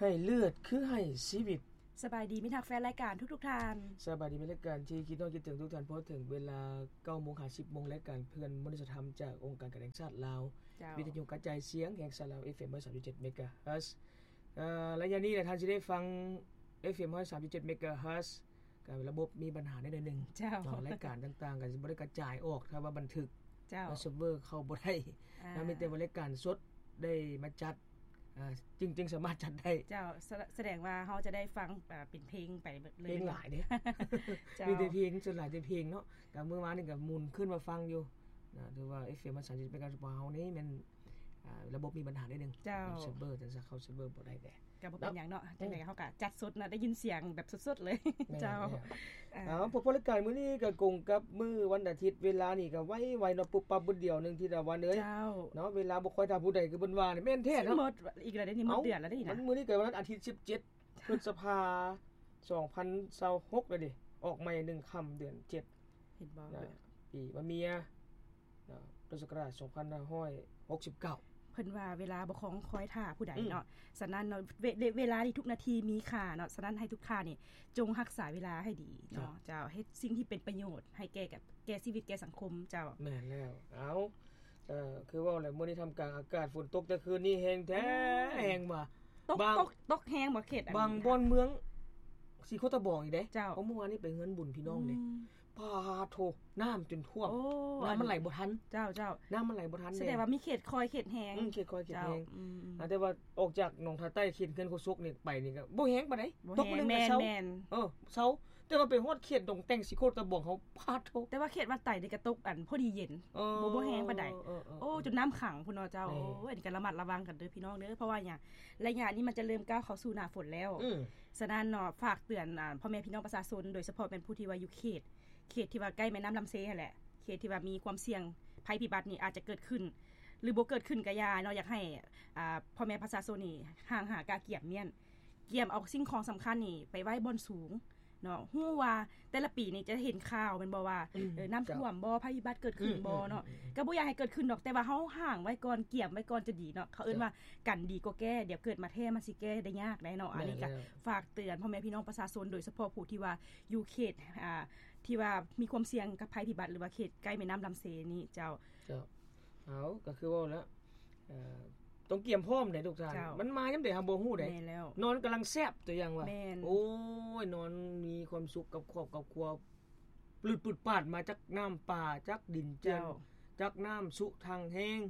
ໃຫ້ເລືອດຄືໃຫ້ຊີວິດ. ສະບາຍດີມິດຮັກແຟນລາຍການທຸກໆທ່ານ. ສະບາຍດີແຟນລາຍການທີ່ຄິດຮອດຄິດເຖິງທຸກທ່ານ. ພໍເຖິງເວລາເກົ້າໂມງຫາສິບໂມງ ລາຍການເພື່ອນມະນຸດສະທຳຈາກອົງການການແຫ່ງຊາດລາວ, ເຈົ້າ. ວິທະຍຸກະຈາຍສຽງແຫ່ງຊາດລາວ ເອັຟເອັມ ຮ້ອຍສາມຈຸດເຈັດ ເມກາເຮີດ. ເອີ ໄລຍະນີ້ລະທ່ານຊິໄດ້ຟັງ ເອັຟເອັມ ຮ້ອຍສາມຈຸດເຈັດ ເມກາເຮີດ. ກະລະບົບມີບັນຫາແດ່ໜ້ອຍໜຶ່ງ ເຈົ້າ. ເນາະ ລາຍການຕ່າງໆ ກໍຊິບໍ່ໄດ້ກະຈາຍອອກ ຖ້າວ່າບັນທຶກ ເຈົ້າ. ເຊີບເວີເຂົ້າບໍ່ໄດ້ ອ່າ ນະ ມີແຕ່ວ່າລາຍການສົດໄດ້ມາຈັດ ອ່າ ຈຶ່ງ ຈຶ່ງສາມາດຈັດໄດ້ ເຈົ້າ. ສະ ສະແດງວ່າເຮົາຈະໄດ້ຟັງ ອ່າ ເປັນເພງໄປເບິດເລີຍ ເພງຫຼາຍເດ້ ເຈົ້າ. ມີແຕ່ເພງ ສ່ວນຫຼາຍແຕ່ເພງເນາະ. ກະມື້ວານນີ້ກະໝູນຂຶ້ນມາຟັງຢູ່ນະ ຖືວ່າ ເອັຟເອັມ ສາມສິບ ເມກາເຮີດ ຂອງເຮົານີ້ແມ່ນ ອ່າ ລະບົບມີບັນຫາໜ້ອຍໜຶ່ງ ເຈົ້າ. ເຊີບເວີ ຈັ່ງຊັ້ນເຂົ້າເຊີບເວີບໍ່ໄດ້ແດ່. ກະບໍ່ເປັນຫຍັງເນາະ ເນາະ ຈັ່ງໃດເຮົາກະຈັດສົດເນາະ ໄດ້ຍິນສຽງແບບສົດໆເລີຍ ແມ່ນ ເຈົ້າ. ແລ້ວ ເອົ້າ ພົບພໍລາຍການມື້ນີ້ກະກົງກັບມື້ວັນອາທິດ ເວລານີ້ກະໄວໆເນາະ ປຸບປັບບຶດດຽວໜຶ່ງ ທິດຕາວັນເອີຍ ເຈົ້າ. ເນາະ ເວລາບໍ່ຄ່ອຍຖ້າຜູ້ໃດຄືເພິ່ນວ່ານີ້ ແມ່ນແທ້ເນາະ. ຊິໝົດອີກແລ້ວເດ້ນີ້ ໝົດເດືອນແລ້ວເດ້ນີ້ນະ. ເອົ້າ ມື້ນີ້ກະວັນອາທິດ ສິບເຈັດ ພຶດສະພາ ສອງພັນຊາວຫົກ ແລ້ວເດ້ ອອກໃໝ່ໜຶ່ງຄ່ຳເດືອນເຈັດ ເຫັນບໍ່ ນະ ປີມະເມຍ ເນາະ ພຸດທະສັກຣາດ ສອງພັນຫ້າຮ້ອຍຫົກສິບເກົ້າ. ເພິ່ນວ່າເວລາບໍ່ຄອງຄອຍຖ້າຜູ້ໃດເນາະ ອືມ. ສະນັ້ນເນາະ ເວ ເວລານີ້ທຸກນາທີມີຄ່າເນາະ ສະນັ້ນໃຫ້ທຸກທ່ານນີ້ຈົ່ງຮັກສາເວລາໃຫ້ດີເນາະ ເຈົ້າ. ເຈົ້າ. ເຮັດສິ່ງທີ່ເປັນປະໂຫຍດໃຫ້ແກ່ ແກ່ຊີວິດແກ່ສັງຄົມ ເຈົ້າ. ແມ່ນແລ້ວ ເອົ້າ ເອີ ຄືເວົ້າແຫຼະ ມື້ນີ້ທ່າມກາງອາກາດຝົນຕົກ ແຕ່ຄືນນີ້ແຮງແທ້ ໂອ້ ແຮງວ່າ ຕົກ ບາງ ຕົກ ຕົກແຮງບໍ່ເຂດ ບາງບ່ອນເມືອງສີໂຄດຕະບອງອີກເດ້ ເຈົ້າ. ເພາະມື້ວານນີ້ໄປເຮືອນບຸນພີ່ນ້ອງເດ້ ອືມ. ປາໂທ້ ນ້ຳຈົນຖ້ວມ ໂອ້ ນ້ຳມັນໄຫຼບໍ່ທັນ ເຈົ້າ ເຈົ້າ. ນ້ຳມັນໄຫຼບໍ່ທັນ ສະແດງວ່າມີເຂດຄ່ອຍເຂດແຮງ ອືມ ເຂດຄ່ອຍເຂດແຮງ ເຈົ້າ. ອືມ ອ່າ ແຕ່ວ່າອອກຈາກໜອງທາໃຕ້ ເຂດເຮືອນໂຄສົກນີ້ໄປນີ້ກະບໍ່ແຮງປານໃດ ບໍ່ແຮງ ຕົກມື້ໜຶ່ງກະເຊົາ ແມ່ນໆ ເອີ ເຊົາ. ແຕ່ວ່າໄປຮອດເຂດດອງແຕ່ງ ສີໂຄດຕະບອງເຮົາ ປາໂທ້ ແຕ່ວ່າເຂດວັດໄຕນີ້ກະຕົກອັນພໍດີເຢັນ ເອີ ບໍ່ ບໍ່ແຮງປານໃດ ເອີ ເອີ ໂອ້ ຈົນນ້ຳຂັງພຸ້ນເນາະ ເຈົ້າ. ແມ່ນ ໂອ້ຍ ອັນນີ້ກະລະມັດລະວັງກັນເດີພີ່ນ້ອງເດີ ເພາະວ່າຫຍັງ ໄລຍະນີ້ມັນຈະເລີ່ມກ້າວເຂົ້າສູ່ໜ້າຝົນແລ້ວ ອືມ. ສະນັ້ນເນາະ ຝາກເຕືອນ ອ່າ ພໍ່ແມ່ພີ່ນ້ອງປະຊາຊົນ ໂດຍສະເພາະແມ່ນຜູ້ທີ່ວ່າຢູ່ເຂດ ເຂດທີ່ວ່າໃກ້ແມ່ນ້ຳລຳເຊຫັ້ນແຫຼະ ເຂດທີ່ວ່າມີຄວາມສ່ຽງໄພພິບັດນີ້ອາດຈະເກີດຂຶ້ນ ຫຼືບໍ່ເກີດຂຶ້ນກະຢ່າເນາະ ຢາກໃຫ້ ອ່າ ພໍ່ແມ່ປະຊາຊົນນີ້ຫ່າງຫາກະກຽມມ້ຽນ ກຽມເອົາສິ່ງຂອງສຳຄັນນີ້ໄປໄວ້ບ່ອນສູງເນາະ. ຮູ້ວ່າແຕ່ລະປີນີ້ຈະເຫັນຂ່າວແມ່ນບໍ່ວ່າ ອືມ ເອີ ນ້ຳຖ້ວມບໍ່ ເຈົ້າ ໄພພິບັດເກີດຂຶ້ນ ອືມ ບໍ່ເນາະ ອືມ ອືມ ກະບໍ່ຢາກໃຫ້ເກີດຂຶ້ນດອກ ແຕ່ວ່າເຮົາຫ່າງໄວ້ກ່ອນ ກຽມໄວ້ກ່ອນຈະດີເນາະ ເຂົາເອີ້ນວ່າ ເຈົ້າ ກັນດີກວ່າແກ້ ດຽວເກີດມາແທ້ມັນຊິແກ້ໄດ້ຍາກໄດ໋ເນາະ. ແມ່ນແລ້ວ ອັນນີ້ກະຝາກເຕືອນພໍ່ແມ່ພີ່ນ້ອງປະຊາຊົນ ໂດຍສະເພາະຜູ້ທີ່ວ່າຢູ່ເຂດ ອ່າ ທີ່ວ່າມີຄວາມສ່ຽງກັບໄພພິບັດ ຫຼືວ່າເຂດໃກ້ແມ່ນ້ຳລຳເຊນີ້ ເຈົ້າ. ເຈົ້າ ເອົາ ກະຄືເວົ້າແລ້ວ ເອີ ຕ້ອງກຽມພ້ອມໃດ໋ທຸກທ່ານ ເຈົ້າ. ມັນມາຍາມໃດເຮົາບໍ່ຮູ້ໃດ໋ ແມ່ນແລ້ວ ນອນກຳລັງແຊບ ຕົວຢ່າງວ່າ ແມ່ນ ໂອ້ຍ ນອນມີຄວາມສຸກກັບຄອບກັບຄົວ ປືດປາດມາຈາກນ້ຳປ່າ ຈາກດິນເຈື່ອນ ເຈົ້າ ຈາກນ້ຳຊຸທັງແຮງ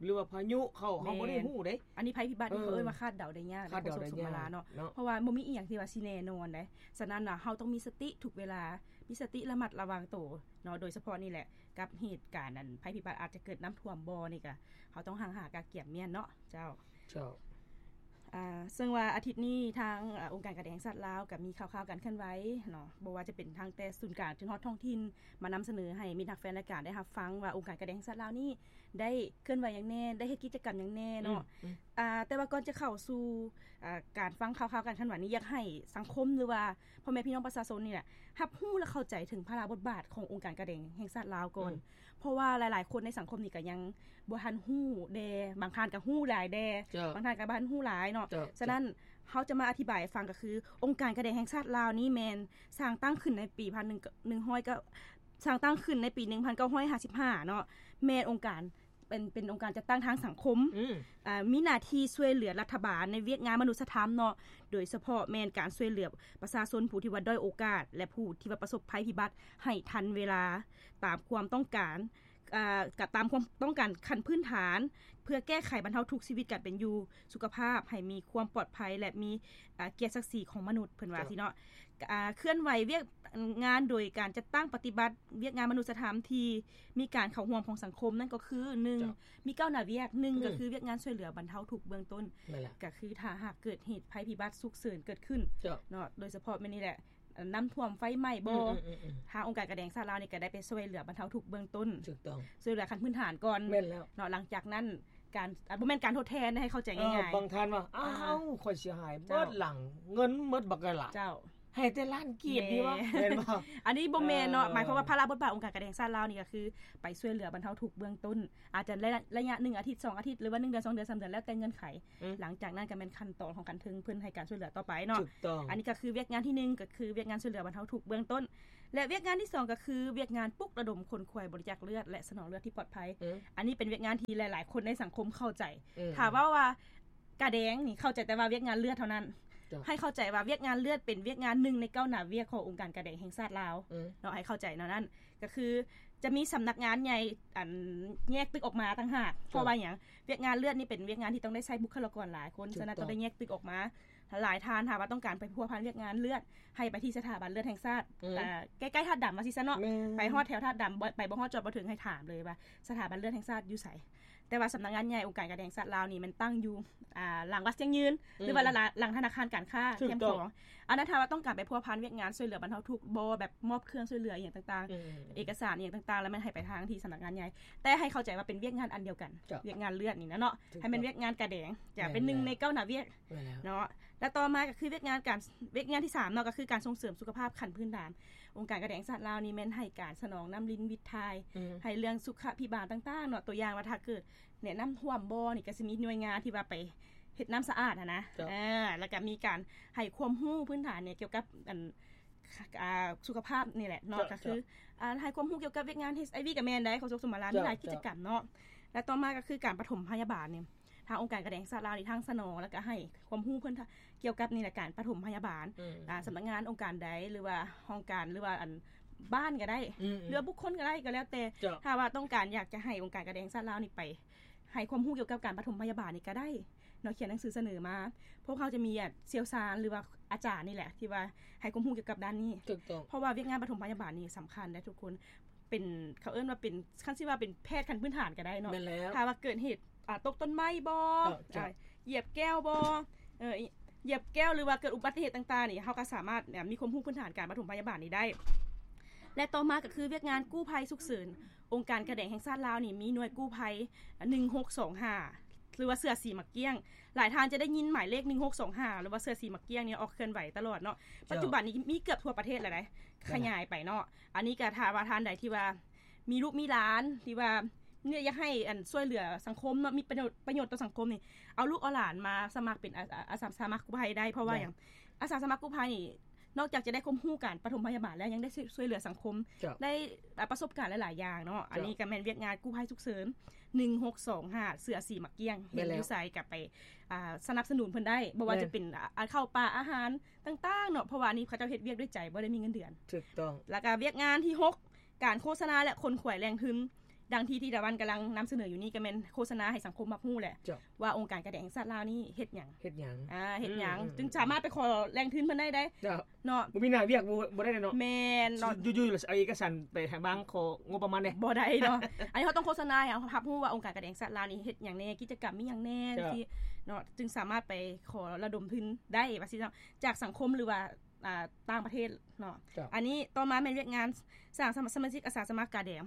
ຫຼືວ່າພາຍຸເຂົ້າ ແມ່ນ ເຮົາບໍ່ໄດ້ຮູ້ເດ້. ອັນນີ້ໄພພິບັດນີ້ ເອີ ເຂົາເອີ້ນວ່າຄາດເດົາໄດ້ຍາກ ຄາດເດົາໄດ້ຍາກເນາະ ເນາະ ເພາະວ່າບໍ່ມີອີ່ຫຍັງທີ່ວ່າຊິແນ່ນອນເດ້. ສະນັ້ນນະ ເຮົາຕ້ອງມີສະຕິທຸກເວລາ ມີສະຕິລະມັດລະວັງໂຕເນາະ ໂດຍສະເພາະນີ້ແຫຼະ ກັບເຫດການອັນໄພພິບັດອາດຈະເກີດນ້ຳຖ້ວມບໍ່ນີ້ກະ ເຮົາຕ້ອງຫ່າງຫາກະກຽມມ້ຽນເນາະ ເຈົ້າ. ເຈົ້າ ອ່າ ເຊິ່ງວ່າອາທິດນີ້ທາງ ອ່າ ອົງການການແດງແຫ່ງຊາດລາວກະມີຂ່າວໆການເຄື່ອນໄຫວເນາະ ບໍ່ວ່າຈະເປັນທາງແຕ່ສູນກາງຈົນຮອດທ້ອງຖິ່ນ ມານຳສະເໜີໃຫ້ມິດຮັກແຟນລາຍການໄດ້ຮັບຟັງວ່າ ອົງການການແດງແຫ່ງຊາດລາວນີ້ໄດ້ເຄື່ອນໄຫວຫຍັງແນ່ ໄດ້ເຮັດກິດຈະກຳຫຍັງແນ່ເນາະ. ອືມ ອືມ ອ່າ ແຕ່ວ່າກ່ອນຈະເຂົ້າສູ່ ອ່າ ການຟັງຂ່າວໆການເຄື່ອນໄຫວນີ້ ຢາກໃຫ້ສັງຄົມ ຫຼືວ່າພໍ່ແມ່ພີ່ນ້ອງປະຊາຊົນນີ້ແຫຼະ ຮັບຮູ້ ແລະ ເຂົ້າໃຈເຖິງພາລະບົດບາດຂອງອົງການການແດງແຫ່ງຊາດລາວກ່ອນ ອືມ ເພາະວ່າຫຼາຍໆຄົນໃນສັງຄົມນີ້ກະຍັງບໍ່ທັນຮູ້ແດ່ ບາງທ່ານກະຮູ້ຫຼາຍແດ່ ເຈົ້າ ບາງທ່ານກະບໍ່ທັນຮູ້ຫຼາຍເນາະ. ເຈົ້າ ສະນັ້ນ ເຈົ້າ ເຮົາຈະມາອະທິບາຍໃຫ້ຟັງ ກະຄືອົງການການແດງແຫ່ງຊາດລາວນີ້ແມ່ນສ້າງຕັ້ງຂຶ້ນໃນປີພັນໜຶ່ງ ໜຶ່ງຮ້ອຍ ກໍສ້າງຕັ້ງຂຶ້ນໃນປີໜຶ່ງພັນເກົ້າຮ້ອຍຫ້າສິບຫ້າເນາະ ແມ່ນອົງການ ເປັນ ເປັນອົງການຈັດຕັ້ງທາງສັງຄົມ ອືມ ອ່າ ມີໜ້າທີ່ຊ່ວຍເຫຼືອລັດຖະບານໃນວຽກງານມະນຸດສະທຳເນາະ ໂດຍສະເພາະແມ່ນການຊ່ວຍເຫຼືອປະຊາຊົນຜູ້ທີ່ວ່າດ້ອຍໂອກາດ ແລະ ຜູ້ທີ່ວ່າປະສົບໄພພິບັດໃຫ້ທັນເວລາ ຕາມຄວາມຕ້ອງການ ອ່າ ກະຕາມຄວາມຕ້ອງການຂັ້ນພື້ນຖານ ເພື່ອແກ້ໄຂບັນເທົາທຸກຊີວິດການເປັນຢູ່ ສຸຂະພາບ ໃຫ້ມີຄວາມປອດໄພ ແລະ ມີ ອ່າ ກຽດສັກສີຂອງມະນຸດ ເພິ່ນວ່າ ເຈົ້າ ຊີ້ເນາະ. ອ່າ ເຄື່ອນໄຫວວຽກງານໂດຍການຈັດຕັ້ງປະຕິບັດວຽກງານມະນຸດສະທຳທີ່ມີການເຂົ້າຮ່ວມຂອງສັງຄົມນັ້ນກໍຄື ໜຶ່ງ ເຈົ້າ ມີເກົ້າໜ້າວຽກ ໜຶ່ງ ອືມ ກໍຄືວຽກງານຊ່ວຍເຫຼືອບັນເທົາທຸກເບື້ອງຕົ້ນ ແມ່ນແຫຼະ ກໍຄືຖ້າຫາກເກີດເຫດໄພພິບັດສຸກເສີນເກີດຂຶ້ນ ເຈົ້າ ເນາະ ໂດຍສະເພາະແມ່ນນີ້ແຫຼະ ນ້ຳຖ້ວມ ໄຟໄໝ້ບໍ່ ອືມ ທາງອົງການການແດງຊາດລາວນີ້ກໍໄດ້ໄປຊ່ວຍເຫຼືອບັນເທົາທຸກເບື້ອງຕົ້ນ ຖືກຕ້ອງ ຊ່ວຍເຫຼືອຂັ້ນພື້ນຖານກ່ອນ ແມ່ນແລ້ວ ເນາະ ຫຼັງຈາກນັ້ນການ ອ່າ ບໍ່ແມ່ນການທົດແທນ ໃຫ້ເຂົ້າໃຈງ່າຍໆ ເອີ ບາງທ່ານວ່າ ອ້າວ ອ່າ ຂ້ອຍເສຍຫາຍ ເຈົ້າ ເບິດຫຼັງ ເງິນໝົດບັກກະຫຼາ ເຈົ້າ ໃຫ້ແຕ່ລ້ານກີບນີ້ວະ ແມ່ນບໍ່? ອັນນີ້ບໍ່ແມ່ນເນາະ ເອີ ໝາຍຄວາມວ່າພາລະບົດບາດອົງການການແຂ່ງຊາດລາວນີ້ກໍຄືໄປຊ່ວຍເຫຼືອບັນເທົາທຸກເບື້ອງຕົ້ນ ອາດຈະໄລຍະ ໄລຍະໜຶ່ງອາທິດ ສອງອາທິດ ຫຼືວ່າໜຶ່ງເດືອນ ສອງເດືອນ ສາມເດືອນ ແລ້ວແຕ່ເງື່ອນໄຂ ອືມ ຫຼັງຈາກນັ້ນກໍແມ່ນຂັ້ນຕອນຂອງຂັ້ນເທິງ ເພິ່ນໃຫ້ການຊ່ວຍເຫຼືອຕໍ່ໄປເນາະ ຖືກຕ້ອງ ອັນນີ້ກໍຄືວຽກງານທີໜຶ່ງ ກໍຄືວຽກງານຊ່ວຍເຫຼືອບັນເທົາທຸກເບື້ອງຕົ້ນ ແລະ ວຽກງານທີສອງ ກໍຄືວຽກງານປຸກລະດົມຂົນຂວາຍບໍລິຈາກເລືອດ ແລະ ສະໜອງເລືອດທີ່ປອດໄພ ອືມ ອັນນີ້ເປັນວຽກງານທີ່ຫຼາຍໆຄົນໃນສັງຄົມເຂົ້າໃຈ ອືມ ຖ້າເວົ້າວ່າກາແດງນີ້ ເຂົ້າໃຈແຕ່ວ່າວຽກງານເລືອດເທົ່ານັ້ນ ເຈົ້າ ໃຫ້ເຂົ້າໃຈວ່າວຽກງານເລືອດເປັນວຽກງານໜຶ່ງໃນກ້າວໜ້າວຽກຂອງອົງການກາແດງແຫ່ງຊາດລາວ ອືມ ເນາະ ໃຫ້ເຂົ້າໃຈແນວນັ້ນ ກໍຄືຈະມີສຳນັກງານໃຫຍ່ ອັນ ແຍກຕຶກອອກມາຕ່າງຫາກ ເຈົ້າ ເພາະວ່າຫຍັງ ວຽກງານເລືອດນີ້ເປັນວຽກງານທີ່ຕ້ອງໄດ້ໃຊ້ບຸກຄະລາກອນຫຼາຍຄົນ ຖືກຕ້ອງ ສະນັ້ນຕ້ອງໄດ້ແຍກຕຶກອอกມາຫຼາຍທ່ານ ຖ້າວ່າຕ້ອງການໄປພົວພັນວຽກງານເລືອດ ໃຫ້ໄປທີ່ສະຖາບັນເລືອດແຫ່ງຊາດ ອືມ ເອີ ໃກ້ໆທາດດຳວ່າຊີ້ຊະເນາະ ແມ່ນ ໄປຮອດແຖວທາດດຳ ບໍ່ ໄປບໍ່ຮອດຈອດບໍ່ເຖິງ ໃຫ້ຖາມເລີຍວ່າສະຖາບັນເລືອດແຫ່ງຊາດຢູ່ໃສ ແຕ່ວ່າສຳນັກງານໃຫຍ່ອົງການການແຫ່ງຊາດລາວນີ້ ແມ່ນຕັ້ງຢູ່ ອ່າ ຫຼັງວັດຊຽງຍືນ ອືມ ຫຼືວ່າລະ ລະ ຫຼັງທະນາຄານການຄ້າ ເອີ ຖືກຕ້ອງ ແຄມຂອງ ອັນນັ້ນຖ້າວ່າຕ້ອງການໄປພົວພັນວຽກງານຊ່ວຍເຫຼືອບັນເທົາທຸກ ບໍ່ແບບມອບເຄື່ອງຊ່ວຍເຫຼືອອີ່ຫຍັງຕ່າງໆ ອືມ ເອກະສານອີ່ຫຍັງຕ່າງໆ ແລ້ວແມ່ນໃຫ້ໄປທາງທີ່ສຳນັກງານໃຫຍ່ ແຕ່ໃຫ້ເຂົ້າໃຈວ່າເປັນວຽກງານອັນດຽວກັນ ເຈົ້າ ວຽກງານເລືອດນີ້ນະເນາະ ຖືກຕ້ອງ ໃຫ້ແມ່ນວຽກງານກາແດງ ຈະເປັນໜຶ່ງໃນກ້າວໜ້າວຽກ ແມ່ນແລ້ວ ເນາະ ແລະ ຕໍ່ມາກໍຄືວຽກງານການ ວຽກງານທີສາມເນາະ ກໍຄືການສົ່ງເສີມສຸຂະພາບຂັ້ນພື້ນຖານ ອົງການການແຫ່ງຊາດລາວນີ້ແມ່ນໃຫ້ການສະໜອງນ້ຳລິນວິດຖ່າຍ ອືມ ໃຫ້ເລື່ອງສຸຂະພິບານຕ່າງໆເນາະ ຕົວຢ່າງວ່າຖ້າເກີດແນະນ້ຳຖ້ວມບໍ່ນີ້ ກໍຊິມີໜ່ວຍງານທີ່ວ່າໄປເຮັດນ້ຳສະອາດຫັ້ນນະ ເຈົ້າ ເອີ ແລ້ວກໍມີການໃຫ້ຄວາມຮູ້ພື້ນຖານນີ້ ກ່ຽວກັບ ອັນ ອ່າ ສຸຂະພາບນີ້ແຫຼະເນາະ ເຈົ້າ ກໍຄື ເຈົ້າ ອ່າ ໃຫ້ຄວາມຮູ້ກ່ຽວກັບວຽກງານ ເອັດໄອວີ ກໍແມ່ນໄດ໋ ຂອງສົກສົມາລາ ເຈົ້າ ມີຫຼາຍກິດຈະກຳເນາະ ແລະ ຕໍ່ມາກໍຄືການປະຖົມພະຍາບານນີ້ ທາງອົງການການແຫ່ງຊາດລາວນີ້ ທັງສະໜອງ ແລ້ວກໍໃຫ້ຄວາມຮູ້ເພິ່ນ ກ່ຽວກັບນີ້ແຫຼະ ການປະຖົມພະຍາບານ ອືມ ອ່າ ສຳນັກງານອົງການໃດ ຫຼືວ່າຫ້ອງການ ຫຼືວ່າອັນບ້ານກໍໄດ້ ອືມໆ ຫຼືວ່າບຸກຄົນກໍໄດ້ ກໍແລ້ວແຕ່ ເຈົ້າ ຖ້າວ່າຕ້ອງການຢາກຈະໃຫ້ອົງການການແຫ່ງຊາດລາວນີ້ໄປໃຫ້ຄວາມຮູ້ກ່ຽວກັບການປະຖົມພະຍາບານນີ້ກໍໄດ້ເນາະ ຂຽນໜັງສືສະເໜີມາ ພວກເຮົາຈະມີ ອາ ຊ່ຽວຊານ ຫຼືວ່າອາຈານນີ້ແຫຼະ ທີ່ວ່າໃຫ້ຄວາມຮູ້ກ່ຽວກັບດ້ານນີ້ ຖືກຕ້ອງ ເພາະວ່າວຽກງານປະຖົມພະຍາບານນີ້ສຳຄັນເດ້ທຸກຄົນ ເປັນ ເຂົາເອີ້ນວ່າເປັນ ຄັນຊິວ່າເປັນແພດຂັ້ນພື້ນຖານກໍໄດ້ເນາະ ແມ່ນແລ້ວ ຖ້າວ່າເກີດເຫດ ອ່າ ຕົກຕົ້ນໄມ້ບໍ່ ເຈົ້າ ເຈົ້າ ອ່າ ຢຽບແກ້ວບໍ່ ເອີ ຢຽບແກ້ວ ຫຼືວ່າເກີດອຸບັດຕິເຫດຕ່າງໆນີ້ ເຮົາກໍສາມາດ ແບບ ມີຄວາມຮູ້ພື້ນຖານການປະຖົມພະຍາບານນີ້ໄດ້ ແລະ ຕໍ່ມາກໍຄືວຽກງານກູ້ໄພສຸກເສີນ ອົງການການແດງແຫ່ງຊາດລາວນີ້ມີໜ່ວຍກູ້ໄພ ໜຶ່ງຫົກສອງຫ້າ ຫຼືວ່າເສື້ອສີໝາກກ້ຽງ ຫຼາຍທ່ານຈະໄດ້ຍິນໝາຍເລກ ໜຶ່ງຫົກສອງຫ້າ ຫຼືວ່າເສື້ອສີໝາກກ້ຽງນີ້ອອກເຄື່ອນໄຫວຕະຫຼອດເນາະ ເຈົ້າ ປັດຈຸບັນນີ້ມີເກືອບທົ່ວປະເທດແລ້ວເດ້ ແມ່ນ ຂະຫຍາຍໄປເນາະ ອັນນີ້ກໍຖ້າວ່າທ່ານໃດທີ່ວ່າມີລູກມີຫຼານ ທີ່ວ່ານີ້ຢາກໃຫ້ ອັນ ຊ່ວຍເຫຼືອສັງຄົມເນາະ ມີປະໂຫຍດ ປະໂຫຍດຕໍ່ສັງຄົມນີ້ ເອົາລູກເອົາຫຼານມາສະໝັກເປັນອາ ອາ ອາສາສະໝັກກູ້ໄພໄດ້ ເພາະວ່າ ໄດ້ ຫຍັງ ອາສາສະໝັກກູ້ໄພນີ້ ນອກຈາກຈະໄດ້ຄວາມຮູ້ການປະຖົມພະຍາບານແລ້ວ ຍັງໄດ້ຊ່ວຍ ຊ່ວຍເຫຼືອສັງຄົມ ເຈົ້າ ໄດ້ ອ່າ ປະສົບການຫຼາຍໆຢ່າງເນາະ ເຈົ້າ ອັນນີ້ກໍແມ່ນວຽກງານກູ້ໄພສຸກເສີນ ໜຶ່ງຫົກສອງຫ້າ ເສື້ອສີໝາກກ້ຽງ ແມ່ນແລ້ວ ເຫັນຢູ່ໃສກໍໄປ ອ່າ ສະໜັບສະໜູນເພິ່ນໄດ້ ບໍ່ວ່າ ແມ່ນ ຈະເປັນ ອ່າ ເຂົ້າປາອາຫານຕ່າງໆເນາະ ເພາະວ່າອັນນີ້ເຂົາເຈົ້າເຮັດວຽກດ້ວຍໃຈ ບໍ່ໄດ້ມີເງິນເດືອນ ຖືກຕ້ອງ ແລ້ວກໍວຽກງານທີຫົກ ການໂຄສະນາ ແລະ ຂົນຂວາຍແຫຼ່ງທຶນ ດັ່ງທີ່ ທີ່ຕາວັນກຳລັງນຳສະເໜີຢູ່ນີ້ ກໍແມ່ນໂຄສະນາໃຫ້ສັງຄົມຮັບຮູ້ແຫຼະ ເຈົ້າ ວ່າອົງການການແດງແຫ່ງຊາດລາວນີ້ເຮັດຫຍັງ ເຮັດຫຍັງ ອ່າ ເຮັດຫຍັງ ອືມໆໆ ຈຶ່ງສາມາດໄປຂໍແຫຼ່ງທຶນເພິ່ນໄດ້ເດ້ ເຈົ້າ ເນາະ ບໍ່ມີໜ້າວຽກ ບໍ່ ບໍ່ໄດ້ເນາະ ແມ່ນເນາະ ຢູ່ໆ ເອົາເອກະສານໄປທາງບ້ານ ຂໍງົບປະມານແດ່ ບໍ່ໄດ້ເນາະ ອັນນີ້ເຮົາຕ້ອງໂຄສະນາໃຫ້ເຮົາຮັບຮູ້ວ່າອົງການການແດງແຫ່ງຊາດລາວນີ້ເຮັດຫຍັງແນ່ ກິດຈະກຳມີຫຍັງແນ່ ເຈົ້າ ຈັ່ງຊີ້ເນາະ ຈຶ່ງສາມາດໄປຂໍລະດົມທຶນໄດ້ວ່າຊີ້ເນາະ ຈາກສັງຄົມ ຫຼືວ່າ ອ່າ ຕ່າງປະເທດເນາະ ເຈົ້າ ອັນນີ້ຕໍ່ມາແມ່ນວຽກງານສ້າງສະມາຊິກອາສາສະໝັກກາແດງ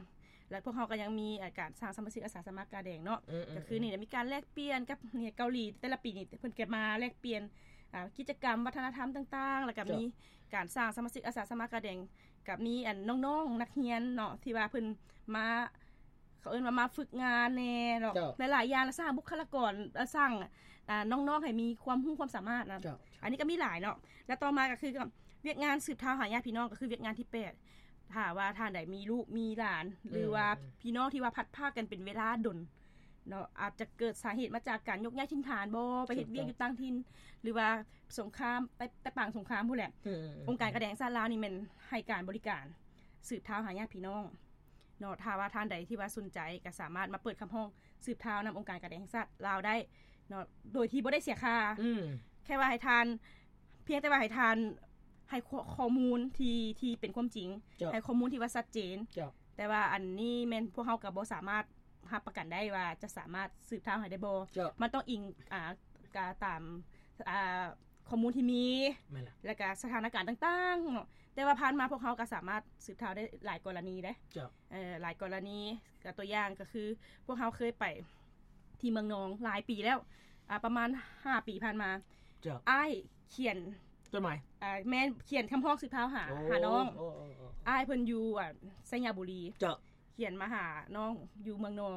ແລະ ພວກເຮົາກໍຍັງມີ ອ່າ ການສ້າງສະມາຊິກອາສາສະໝັກກາແດງເນາະ ອືມໆໆ ກໍຄືນີ້ແຫຼະ ມີການແລກປ່ຽນກັບເກາຫຼີ ແຕ່ລະປີນີ້ເພິ່ນກໍມາແລກປ່ຽນ ອ່າ ກິດຈະກຳວັດທະນະທຳຕ່າງໆ ແລ້ວກໍມີ ເຈົ້າ ການສ້າງສະມາຊິກອາສາສະໝັກກາແດງ ກໍມີ ອັນ ນ້ອງໆນັກຮຽນເນາະ ທີ່ວ່າເພິ່ນມາ ເຂົາເອີ້ນວ່າມາຝຶກງານແດ່ເນາະ ເຈົ້າ ຫຼາຍໆຢ່າງ ແລະ ສ້າງບຸກຄະລາກອນ ແລະ ສ້າງ ອ່າ ນ້ອງໆໃຫ້ມີຄວາມຮູ້ຄວາມສາມາດນະ ເຈົ້າ ເຈົ້າ ອັນນີ້ກໍມີຫຼາຍເນາະ ແລະ ຕໍ່ມາກໍຄືວຽກງານສືບທາວຫາຍາດພີ່ນ້ອງ ກໍຄືວຽກງານທີແປດ ຖ້າວ່າທ່ານໃດມີລູກມີຫຼານ ອືມ ຫຼືວ່າພີ່ນ້ອງທີ່ວ່າພັດພາກກັນເປັນເວລາດົນເນາະ ອາດຈະເກີດສາເຫດມາຈາກການຍົກຍ້າຍຖິ່ນຖານບໍ ໄປເຮັດວຽກຢູ່ຕ່າງຖິ່ນ ຖືກຕ້ອງ ຫຼືວ່າສົງຄາມ ໄປ ໄປປາງສົງຄາມພຸ້ນແຫຼະ ອືມ ອົງການການແດງຊາດລາວນີ້ແມ່ນໃຫ້ການບໍລິການ ສືບທາວຫາຍາດພີ່ນ້ອງເນາະ ຖ້າວ່າທ່ານໃດທີ່ວ່າສົນໃຈກໍສາມາດມາເປີດຄຳຮ້ອງສືບທາວນຳອົງການການແດງແຫ່ງຊາດລາວໄດ້ເນາະ ໂດຍທີ່ບໍ່ໄດ້ເສຍຄ່າ ອືມ ແຄ່ວ່າໃຫ້ທ່ານ ພຽງແຕ່ວ່າໃຫ້ທ່ານໃຫ້ຂໍ້ ຂໍ້ມູນທີ່ ທີ່ເປັນຄວາມຈິງ ເຈົ້າ ໃຫ້ຂໍ້ມູນທີ່ວ່າຊັດເຈນ ເຈົ້າ ແຕ່ວ່າອັນນີ້ແມ່ນພວກເຮົາກໍບໍ່ສາມາດຮັບປະກັນໄດ້ວ່າຈະສາມາດສືບທາວໃຫ້ໄດ້ບໍ່ ເຈົ້າ ມັນຕ້ອງອີງ ອ່າ ກະຕາມ ອ່າ ຂໍ້ມູນທີ່ມີ ແມ່ນລະ ແລ້ວກະສະຖານະການຕ່າງໆເນາະ ແຕ່ວ່າຜ່ານມາພວກເຮົາກໍສາມາດສືບທາວໄດ້ຫຼາຍກໍລະນີເດ້ ເຈົ້າ ເອີ ຫຼາຍກໍລະນີ ກໍຕົວຢ່າງກໍຄືພວກເຮົາເຄີຍໄປທີ່ເມືອງນອງຫຼາຍປີແລ້ວ ອ່າ ປະມານຫ້າປີຜ່ານມາ ເຈົ້າ ອ້າຍຂຽນ ຈົດໝາຍ ອ່າ ແມ່ນຂຽນຄຳຮ້ອງສືບທາວຫາ ໂອ້ ຫານ້ອງ ໂອ້ ໂອ້ ໂອ້ ອ້າຍເພິ່ນຢູ່ ອ່າ ໄຊຍະບູລີ ເຈົ້າ ຂຽນມາຫານ້ອງຢູ່ເມືອງນອງ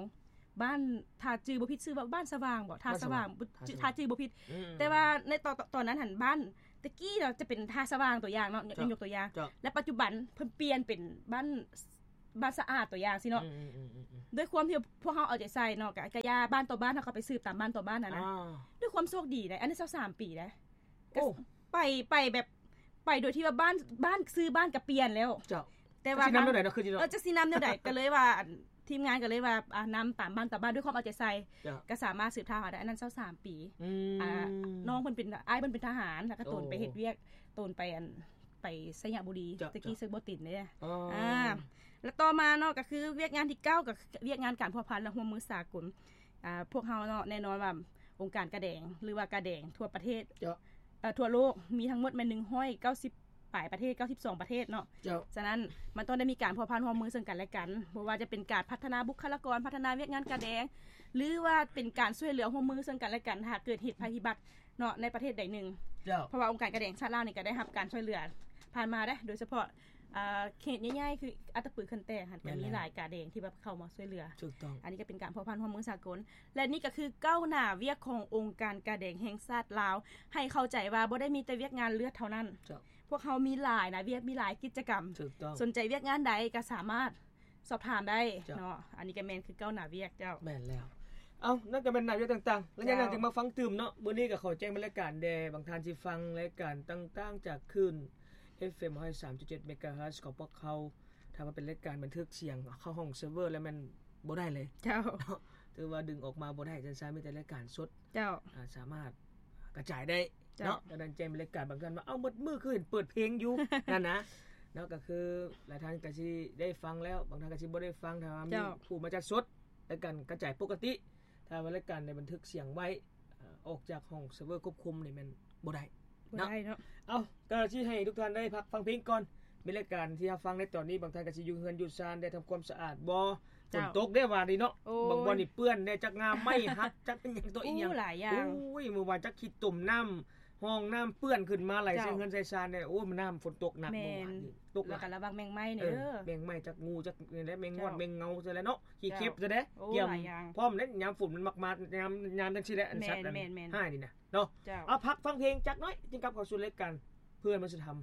ບ້ານ ຖ້າຈື່ບໍ່ຜິດຊື່ວ່າບ້ານສະຫວ່າງບໍ ທ່າສະຫວ່າງ ຖ້າຈື່ບໍ່ຜິດ ອືມ ແຕ່ວ່າໃນຕອນ ຕອນນັ້ນຫັ້ນ ບ້ານແຕ່ກີ້ເນາະ ຈະເປັນທ່າສະຫວ່າງຕົວຢ່າງເນາະ ຍົກຕົວຢ່າງ ແລ້ວປັດຈຸບັນເພິ່ນປ່ຽນເປັນບ້ານ ບ້ານສະອາດຕົວຢ່າງຊີ້ເນາະ ອືມໆໆໆ ດ້ວຍຄວາມທີ່ພວກເຮົາເອົາໃຈໃສ່ເນາະ ກະ ກະຢ່າ ບ້ານຕໍ່ບ້ານ ເຮົາກໍໄປສືບຕາມບ້ານຕໍ່ບ້ານຫັ້ນນະ ອ່າ ດ້ວຍຄວາມໂຊກດີໃດ໋ ອັນນີ້ຊາວສາມປີໃດ໋ ໂອ້ ໄປ ໄປແບບ ໄປໂດຍທີ່ວ່າບ້ານ ບ້ານ ຊື່ບ້ານກໍປ່ຽນແລ້ວ ເຈົ້າ ແຕ່ວ່າ ຈັກຊິນຳແນວໃດເນາະ ຄືຊິເນາະ ເອີ ຈັກຊິນຳແນວໃດ ກໍເລີຍວ່າ ທີມງານກໍເລີຍວ່າ ອ່າ ນຳຕາມບ້ານຕໍ່ບ້ານ ດ້ວຍຄວາມເອົາໃຈໃສ່ ເຈົ້າ ກໍສາມາດສືບທາດຫາໄດ້ ອັນນັ້ນຊາວສາມປີ ອືມ ອ່າ ນ້ອງເພິ່ນເປັນ ອ້າຍເພິ່ນເປັນທະຫານ ແລ້ວກໍຕົນໄປເຮັດວຽກ ໂອ້ ຕົນໄປ ອັນ ໄປໄຊຍະບູລີ ເຈົ້າ ແຕ່ກີ້ເຊີກບໍ່ຕິນເດ້ ອໍ ອ່າ ແລ້ວຕໍ່ມາເນາະ ກໍຄືວຽກງານທີເກົ້າ ກໍວຽກງານການພົວພັນ ແລະ ຮ່ວມມືສາກົນ ອ່າ ພວກເຮົາເນາະ ແນ່ນອນວ່າອົງການກາແດງ ຫຼືວ່າກາແດງທົ່ວປະເທດ ເຈົ້າ ເອີ ທົ່ວໂລກມີທັງໝົດແມ່ນໜຶ່ງຮ້ອຍເກົ້າສິບປາຍປະເທດ ເກົ້າສິບສອງປະເທດເນາະ ເຈົ້າ ສະນັ້ນມັນຕ້ອງໄດ້ມີການພົວພັນຮ່ວມມືເຊິ່ງກັນແລະກັນ ບໍ່ວ່າຈະເປັນການພັດທະນາບຸກຄະລາກອນ ພັດທະນາວຽກງານກາແດງ ຫຼືວ່າເປັນການຊ່ວຍເຫຼືອຮ່ວມມືເຊິ່ງກັນແລະກັນ ຫາກເກີດເຫດໄພພິບັດເນາະ ໃນປະເທດໃດໜຶ່ງ ເຈົ້າ ເພາະວ່າອົງການກາແດງຊາດລາວນີ້ກໍໄດ້ຮັບການຊ່ວຍເຫຼືອຜ່ານມາເດ້ ໂດຍສະເພາະ ອ່າ ເຂດໃຫຍ່ໆ ຄືອັດຕະປື ເຂື່ອນແຕກຫັ້ນ ແມ່ນແລ້ວ ກໍມີຫຼາຍກາແດງທີ່ແບບເຂົ້າມາຊ່ວຍເຫຼືອ ຖືກຕ້ອງ ອັນນີ້ກໍເປັນການພົວພັນຮ່ວມມືສາກົນ ແລະ ນີ້ກໍຄືກ້າວໜ້າວຽກຂອງອົງການກາແດງແຫ່ງຊາດລາວ ໃຫ້ເຂົ້າໃຈວ່າບໍ່ໄດ້ມີແຕ່ວຽກງານເລືອດເທົ່ານັ້ນ ເຈົ້າ ພວກເຮົາມີຫຼາຍໜ້າວຽກ ມີຫຼາຍກິດຈະກຳ ຖືກຕ້ອງ ສົນໃຈວຽກງານໃດກໍສາມາດສອບຖາມໄດ້ ເຈົ້າ ເນາະ ອັນນີ້ກໍແມ່ນຄືກ້າວໜ້າວຽກ ເຈົ້າ ແມ່ນແລ້ວ ເອົ້າ ນັ້ນກໍແມ່ນໜ້າວຽກຕ່າງໆ ແລ້ວຍັງ ເຈົ້າ ຍັງຈະມາຟັງຕື່ມເນາະ ມື້ນີ້ກໍຂໍແຈ້ງບັນຍາກາດແດ່ ບາງທ່ານຊິຟັງລາຍການຕ່າງໆ ຈາກຄື້ນ ເອັຟເອັມ ຮ້ອຍສາມຈຸດເຈັດ ເມກາເຮີດ ຂອງພວກເຮົາ ຖ້າວ່າເປັນລາຍການບັນທຶກສຽງເຂົ້າຫ້ອງເຊີເວີແລ້ວແມ່ນບໍ່ໄດ້ເລີຍ ເຈົ້າ ເນາະ ຖືວ່າດຶງອອກມາບໍ່ໄດ້ ຈັ່ງຊັ້ນ ມີແຕ່ລາຍການສົດ ເຈົ້າ ອ່າ ສາມາດກະຈາຍໄດ້ ເຈົ້າ ເນາະ ດັ່ງນັ້ນແຈ້ງລາຍການ ບາງທ່ານວ່າ ເອົ້າ ໝົດມື້ຄືເຫັນເປີດເພງຢູ່ ນັ້ນນະ ເນາະ ກໍຄືຫຼາຍທ່ານກໍຊິໄດ້ຟັງແລ້ວ ບາງທ່ານກໍຊິບໍ່ໄດ້ຟັງ ຖ້າວ່າມີ ເຈົ້າ ຜູ້ມາຈັດສົດ ລາຍການກະຈາຍປົກກະຕິ ຖ້າວ່າລາຍການໄດ້ບັນທຶກສຽງໄວ້ ເອີ ອອກຈາກຫ້ອງເຊີເວີຄວບຄຸມນີ້ແມ່ນບໍ່ໄດ້ ບໍ່ໄດ້ເນາະ ເນາະ ເອົ້າ ກໍຊິໃຫ້ທຸກທ່ານໄດ້ພັກຟັງເພງກ່ອນ ມີລາຍການທີ່ຮັບຟັງໃນຕອນນີ້ ບາງທ່ານກໍຊິຢູ່ເຮືອນຢູ່ຊານ ໄດ້ທຳຄວາມສະອາດບໍ່ ເຈົ້າ ຝົນຕົກເດ້ວານີ້ເນາະ ໂອ້ຍ ບາງບ່ອນນີ້ເປື້ອນເດ້ ຈັກງ່າໄມ້ຫັກ ຈັກອີ່ຫຍັງຕໍ່ອີ່ຫຍັງ ໂອ້ ຫຼາຍຢ່າງ ໂອ້ຍ ມື້ວານຈັກຂີ້ຕົມນ້ຳ ຫ້ອງນ້ຳເປື້ອນຂຶ້ນມາໄຫຼ ເຈົ້າ ໃສ່ເຮືອນໃສ່ຊານເດ້ ໂອ້ຍ ມັນນ້ຳຝົນຕົກໜັກ ແມ່ນ ເມື່ອວານນີ້ ຕົກ ແລ້ວກໍລະວັງແມງໄມ້ນີ້ ເອີ ເດີ ແມ່ງໄມ້ຈັກ ງູຈັກ ນີ້ແຫຼະ ແມງງອດ ເຈົ້າ ແມງເງົາ ຈັ່ງຊັ້ນແຫຼະເນາະ ຂີ້ເຂັບ ເຈົ້າ ຊັ້ນເດ້ ໂອ້ ຫຼາຍຢ່າງ ພ້ອມເດ້ ຍາມຝົນມັນມັກມາ ຍາມ ຍາມຈັ່ງຊີ້ແຫຼະ ອັນສັດ ແມ່ນໆໆ ຮ້າຍນີ້ນະເນາະ ເຈົ້າ ເອົາ ພັກຟັງເພງຈັກໜ້ອຍ ຈຶ່ງກັບເຂົ້າສູ່ລາຍການເພື່ອມະນຸດສະທຳ